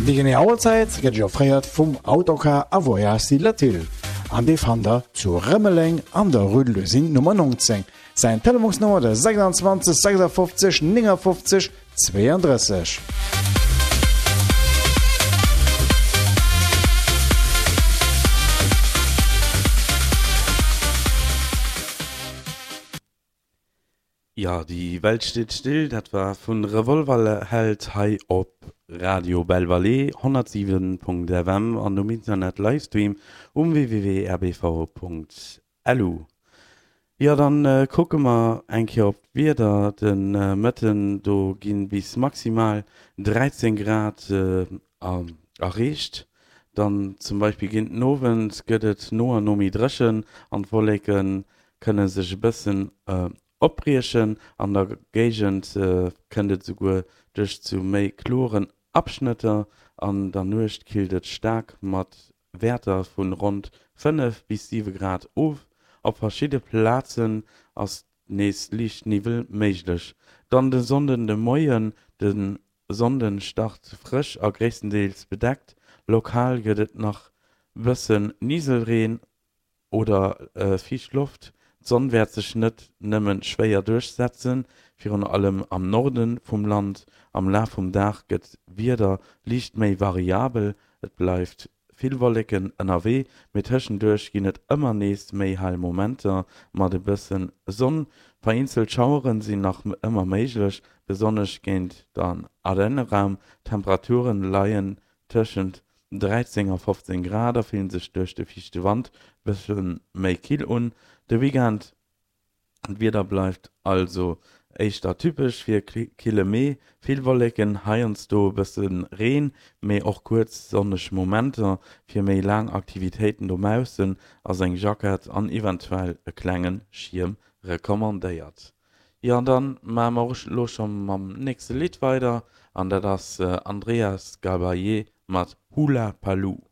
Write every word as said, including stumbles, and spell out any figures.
Déi genee Auerzäit gëtt Iech offréiert vum Autocar a Voyages Latil an dee fannt der zu Rëmeleng an der Rue de l'Usine Nummer neunzéng. Säin Telefonsnummer de sechsundzwanzeg sechsundfünfzig neunundfünfzig zweiunddrësseg. Ja, die Welt steht still, dat war vun Revolverheld hei op Radio Belle Vallée honnertsiwen Punkt F M an um Internet Livestream um w w w r b v Punkt l u. Ja, dann, äh, kucke mer eng Kéier op d'Wieder. Den, äh, Mëtten do ginn bis maximal dräizéng Grad, äh, erreecht. Dann zum Beispill géint den Owend gëtt et no an no méi dréchen an d'Wolleke kënne sech e bëssen, äh, opbriechen. An der Géigend, äh, kënnt et souguer duerch zu méi kloren Abschnëtter. An der Nuecht killt et staark mat Wäerter vun ronn fënnef bis siwe Grad of. Op verschidde Plazen ass nees liicht Niwwel méiglech. Dann de Sonnden de Moien, de Sonnden start frësch a gréisstendeels bedeckt. Lokal gëtt et nach bëssen Niselreen oder, äh, fiicht Loft. D'Sonn wäert sech net nëmme schwéier duerchsetzen, virun allem am Norde vum Land. Am Laf vum Dag gëtt d'Wieder liicht méi variabel, et bleift vill Wolleken ënnerwee, mee tëschenduerch ginn et ëmmer nees méi hell Momenter mat e bëssen Sonn. Vereenzelt Schaueren sinn nach ëmmer méiglech, besonnesch géint den Ardenneraum. D'Temperaturen leien tëschent dräizéng a fofzéng Grad a fillen sech duerch de fiichte Wand bësse méi kill un. De Weekend, d'Wieder bleift also éischter typesch fir kille Mee, vill Wolleken, heiansdo e bësse Reen, mee och kuerz sonneg Momenter. Fir méi laang Aktivitéiten dobaussen ass eng Jackett an eventuell e klenge Schierm recommandéiert. Jo, an dann maache mer och elo scho mam nächste Lidd weider, an dat ass Andreas Gabalier mat Hula Paloo.